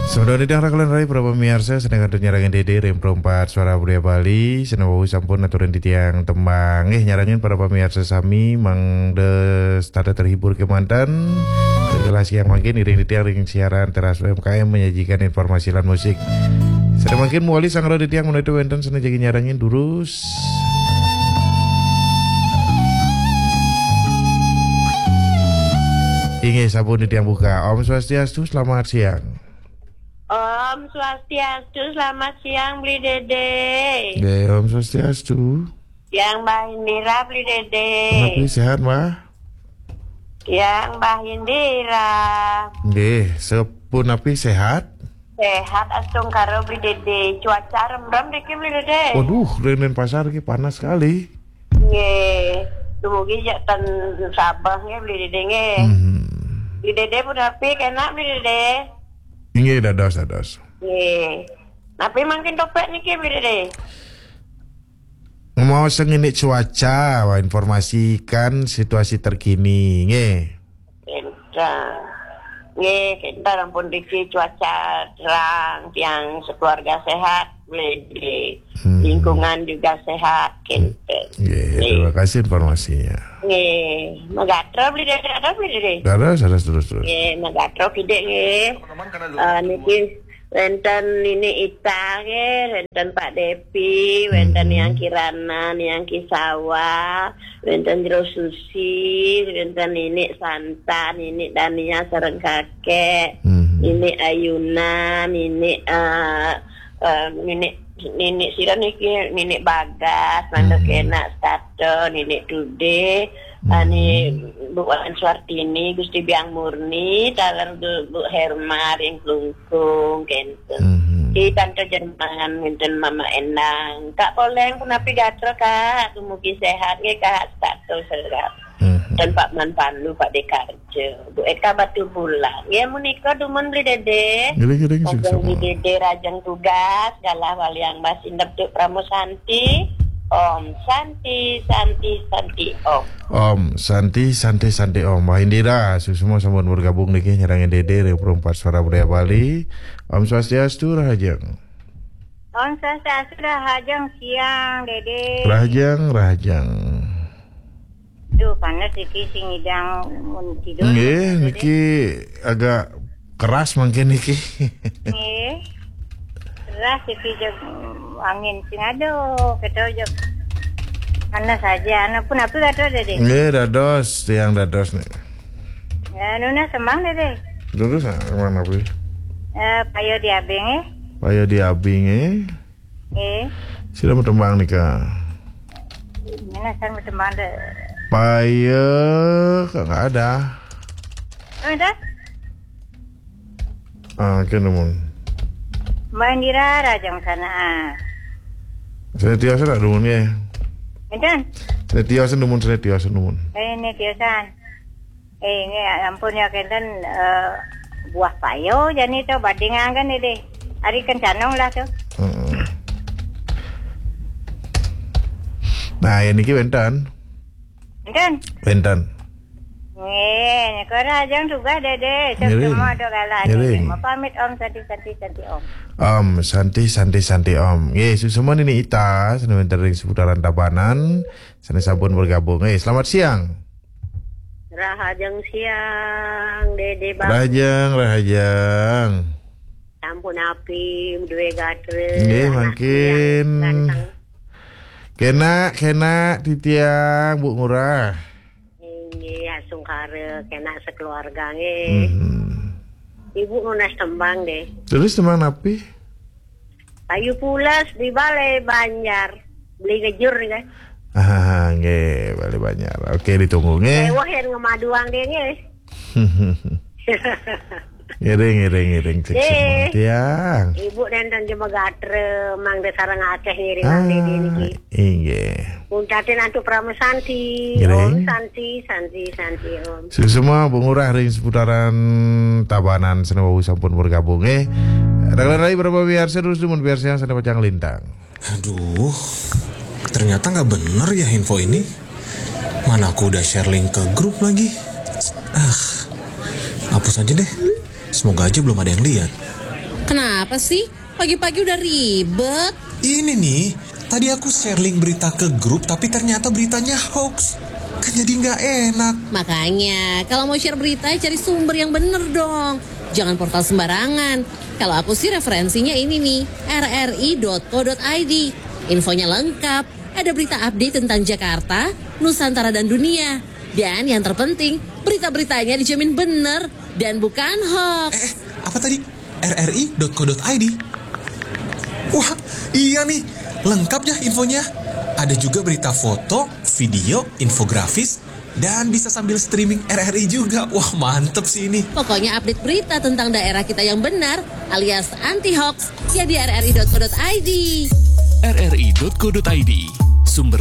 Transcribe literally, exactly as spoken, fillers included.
Sampun titiang raka lan rai para pamiarsa, sané kantun nyarengin Dédé ring Pro empat Suara Budaya Bali, sané wau sampun aturin titiang tembang. Nggih, nyarengin para pamiarsa sami mangda setata terhibur kémanten. Ring kelas siang mangkin ngiring titiang ring siaran Teras U M K M menyajikan informasi lan musik. Sané mangkin mawali sanggra titiang menawi wénten sané jagi nyarengin durus. Inggih, sampun titiang buka. Om Swastiastu, selamat siang. Om Swastiastu, selamat siang, Bli Dédé. Nggih, Om Swastiastu. Yang Mbah Indira, Bli Dédé. Punapi sehat, Mbah? Yang Mbah Indira. Nggih, sapunapi sehat? Sehat, astungkara, Bli Dédé. Cuaca remrem niki, Bli Dédé. Waduh, ring Denpasar iki panas sekali. Nggih. Dumugi jak ten Sabah nggih, Bli Dédé nggih. Hmm. Bli Dédé punapi, kenak, Bli Dédé? Inggih, dados, dados. Nggih. Napi mangkin topik niki, Bli Dédé? Mau sengini cuaca, wah, informasikan situasi terkini, nggih. Kénten. Nggih, kénten ampun riki cuaca terang, tiang sekeluarga sehat, Bli Dédé. Hmm. Lingkungan juga sehat, kénten. Nggih, nggih. Terima kasih informasinya. Nggih, magatra, Bli Dédé, ada, Bli Dédé? Terus, terus, terus, terus. Nggih, magatra kidik nggih. Eh, niki wénten Nini Ita nggih, wénten Pak Depi, wénten Hmm. Niang Kirana, Niang Kisawa, wénten Jero Susi, wénten Nini Santa, Nini Dania sareng kakek, Hmm. Nini Ayuna, Nini, eh, eh, Nini, Nini sira niki, Nini Bagas, mangda Hmm. kenak setata, Nini Tude, Hmm. ani Bu Wayan Suartini, Gusti Biang Murni, taler Bu, Bu Herma ring Klungkung, kénten. Hmm. Di Tante Jerman, wénten Mama Endang. Kak Poleng, punapi gatra, Kak? Dumugi sehat nggih, Kak? Setata serap. Hmm. Dan Pak Man Pandu, Pak Dekarja. Bu Eka Batu Bulan. Ya, menika dumun Bli Dédé. Ngiring, ngiring, Rajang sukses, Bli Dédé, rajang tugas, galah waliang Mbah Sindep Duk Pramu Santi. Om Santi, Santi, Santi, Om. Om Santi, Santi, Santi, Om. Mbah Indira, suksma sampun bergabung niki nyarengin Dédé ring Pro empat Suara Budaya Bali. Om Swastiastu, rahajeng. Om Swastiastu, rahajeng siang, Dédé. Rahajeng, rahajeng. Duh, panas iki sing ngidang mun tidur. Nggih, Dédé. Niki agak keras mangkin niki. Nggih. Keras iki jeg angin sing aduh, kita jeg panas aja. Anu punapi gatra, Dédé? Nggih, dados, tiang dados nih. Ya, nunas tembang, Dédé. Terus, ah, mana, Pi? Eh, Payo di Abing, eh. Payo di Abing, eh. Eh. Sira matembang nika. Mana sang matembang deh? Payo, kok nggak ada? Oh, ada? Ah, kén dumun. Mbah Indira, rajang sana. Sané tios rak dumun ya. Enten? Sané tios dumun, sané tios dumun. Eh, ini tiosan. Eh, ini ampun ya, kénten, eh, buah payo jani to badingaken, Dédé. Ari kencanong lah to. Heeh. Nah, ya niki wénten. Enten? Wénten. Nggih, nika rahajeng tugas, Dédé. Ngiring. Semua ada galah, Dédé. Ngiring. Mau pamit, Om, Santi, Santi, Santi, Om. Om Santi, Santi, Santi, Om. Nggih, suksma Nini Ita, sané wénten ring seputaran Tabanan, sané sampun bergabung. Eh, selamat siang. Rahajeng siang, Dédé Bang. Rahajeng, rahajeng. Sampun api, duwe gatra, nggih, anak mangkin. Ganteng. Kenak, kenak, titiang, Bu Ngurah. Inggih, astungkara, kenak sekeluarga, nggih. Mhm. Ibu nunas tembang, nggih. Terus tembang napi? Payu pules di Balé Banjar. Beli ngejur, nggih. Ah, nggih, Balé Banjar. Oke, ditunggu, nggih. Ewah yang ngemaduang, nggih, nggih. Ngiring, ngiring, ngiring. Cek semua tiang. Ibu nenten jemegatra, mangda sareng akeh ngiring, ah, Dédé niki. Inggih. Muntatin antuk Parama Santi. Ngiring. Om Santi, Santi, Santi, Om. Suksma Bu Ngurah ring seputaran Tabanan, sané wau sampun bergabung, eh. Raka lan rai para pamiarsa, terus dumun piarsayang sané pacang lintang. Aduh, ternyata nggak bener ya info ini. Mana aku udah share link ke grup lagi. Ah, hapus aja deh. Semoga aja belum ada yang lihat. Kenapa sih? Pagi-pagi udah ribet. Ini nih, tadi aku share link berita ke grup tapi ternyata beritanya hoax. Kan jadi nggak enak. Makanya, kalau mau share berita, cari sumber yang bener dong. Jangan portal sembarangan. Kalau aku sih referensinya ini nih, rri.co.id. Infonya lengkap. Ada berita update tentang Jakarta, Nusantara dan dunia. Dan yang terpenting, berita-beritanya dijamin bener dan bukan hoax. Eh, apa tadi? rri.co.id. Wah, iya nih, lengkap ya infonya. Ada juga berita foto, video, infografis, dan bisa sambil streaming RRI juga. Wah, mantep sih ini. Pokoknya update berita tentang daerah kita yang benar alias anti hoax ya di rri.co.id. rri.co.id.